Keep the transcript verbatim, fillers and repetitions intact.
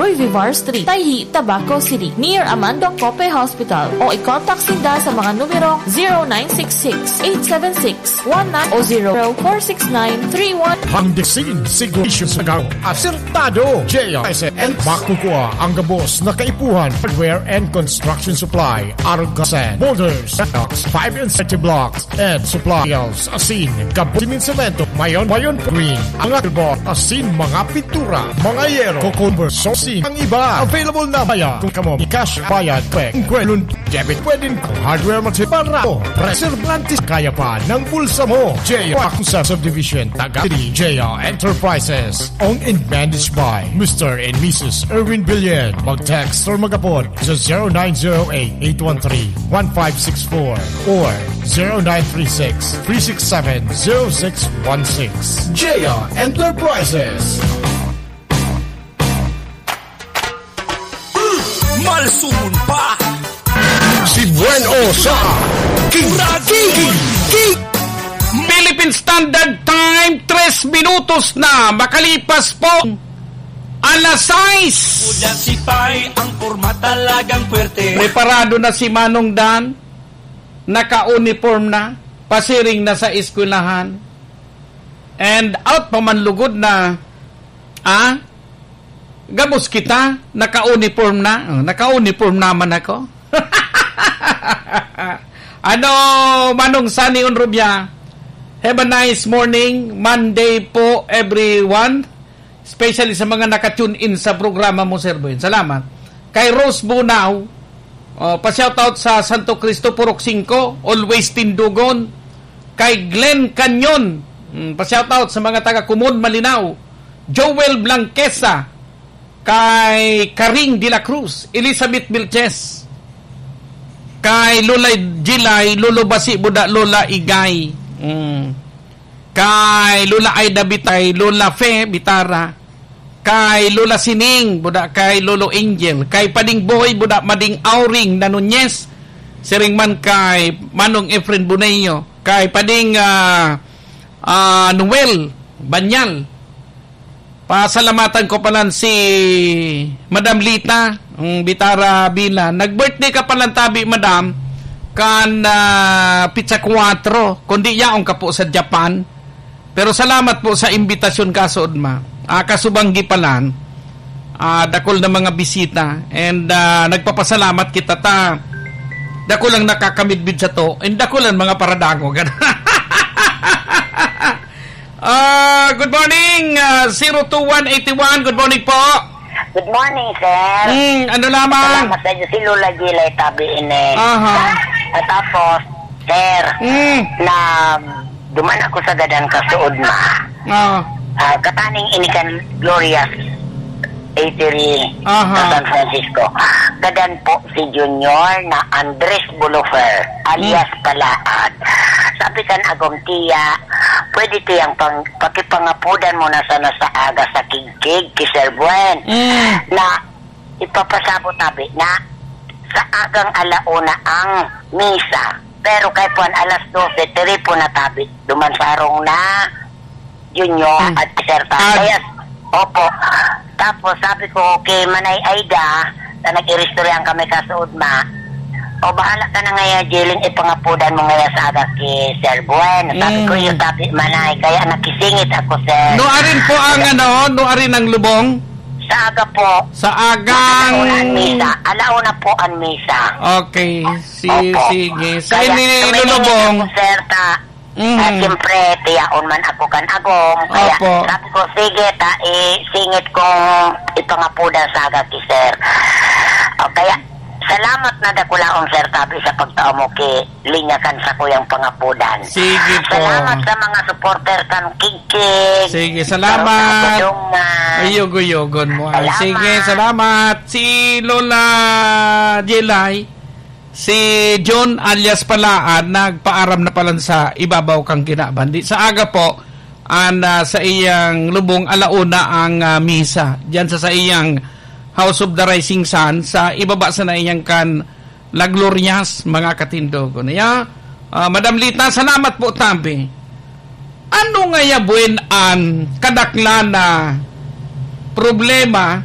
Roy Vivar Street, Tayhi, Tabaco City, near Amando Cope Hospital, o i-contact sinda sa mga numerong zero nine six six, eight seven six, one nine o zero four six nine three one. Hanggang sigurado sa garo, asertado, J R S N, makukuha ang gabos na kaipuhan, hardware and construction supply, argasan, boulders, blocks, five and thirty blocks, and supplies, asin, gabos, siminsemento, mayon, mayon, green, mga tubo, asin, mga pintura, mga yero, cucumber, sosi, ang iba. Available na bayad. Kung kamo, cash bayad, pe, kung kwelon, debit, pwedeng hardware, material, para, preservantes, kaya pa ng bulsa mo. J R Acusa Subdivision, Taga City, J R Enterprises. Owned and managed by Mister and Missus Erwin Billion. Mag-text or mag-apod sa zero nine zero eight, eight one three, one five six four or zero nine three six, three six seven, zero six one six. J R Enterprises. Malsumon pa. Si Buen O sa King, King, King, King. Philippine Standard Time, tres minutos na makalipas po alas sais. Kuya Sipay, ang porma talagang puwerte. Preparado na si Manong Dan, naka-uniform na, pasiring na sa eskwelahan. And out pa man lugod na, ah, gabos kita, naka-uniform na. Oh, naka-uniform naman ako. Ano, Manong Sunny Onrubia, have a nice morning. Monday po, everyone. Especially sa mga naka-tune in sa programa mo, Sir Boy. Salamat. Kay Rose Bunao, oh, pa-shoutout sa Santo Cristo, Purok singko, always Tindugon. Kay Glenn Canyon, mm, pa-shoutout sa mga taga Kumon, Malinao. Joel Blanquesa, kay Karing de la Cruz, Elizabeth Vilches, kay Lola Jilay, Lolo Basi Buda, Lola Igay. Mm. Kay Lola Aida Bitay, Lola Fe Bitara, kay Lola Sining, buda kay Lolo Angel, kay Pading Boy, buda Mading Auring na Nunez, siring man kay Manong Efren Boneo, kay Pading, ah, ah, Noel Banyal. Pasalamatan ko palan si Madam Lita, ang Bitara Bila. Nag-birthday ka palan tabi, Madam, kan, ah, pitsa kwatro, kundi yaon ka po sa Japan. Pero salamat po sa imbitasyon, kasood ma. Ah, kasubanggi palan, ah, dakul na mga bisita. And, ah, nagpapasalamat kita ta dakul ang nakakamidbid sa to, and dakul ang mga paradangog. Ah, good morning, ah, zero two one eight one. Good morning po. Good morning, sir. Mm, ano lamang? Salamat sa inyo. Si Lola Gilay tabi ini. Aha. At tapos, sir, Mm. na duman ako sa gadan kasood ma. Ah. Ah, kataning ini kan Glorious Eatery Aha. sa San Francisco. Gadan po si Junior na Andres Bulufer, alias Mm. Palaad. Sabi kan agom, "Tiya, pwede tiyang pang-, pakipangapudan mo na sana sa aga sa kigkig ki Sir Buen Mm. na ipapasabot tabi na sa agang alauna ang misa." Pero kay puan alas dose, tiri po na tabi. Duman sarong na Junior Mm. at Sir Tatay. Ad- Opo. Tapos sabi ko, "Okay, Manay Aida, na nag-iristoryahan kami kasood ma. O, bahala ka na ngaya, Jeling, ipangapudan mo ngaya sa aga ki Sir Buen." Sabi ko, Mm. "Iyo, tabi, Manay." Kaya nakisingit ako, sir. No, arin po ang Kaya ano, no, arin ang lubong? Sa aga po. Sa agang Alauna ang misa. Alauna po ang misa. Okay. Si, Opo. Sige. Sa Kaya ini, tuminingin lulubong. ako, sir, ta, Mhm. ah, siyempre, tiyaon man ako kan agom. Kaya Opo. sabi ko, "Sige, ta, isingit kong ipangapudan sa aga ki sir." O, kaya, salamat na dakulaon, sir, tabi sa pagtao mo ki linya kan sakuyang pangapudan. Sige po. Salamat sa mga supporter kan Kigkig. Sige, salamat. Sa Budong man. Ay, yugo-yugon mo. Ay, Salamat. sige, salamat. Si Lola Jelay, si John alias Palaan, nagpaaram na palan sa ibabaw kang kinaban. Di, sa aga po, an, ah, sa iyang lubong, alauna ang, ah, misa. Diyan sa, sa iyang House of the Rising Sun, sa ibaba sa na iyang kan La Glorias, mga katindogon. Iya, ah, Madam Lita, salamat po, tabi. Ano ngaya, Buen, an kadaklan na problema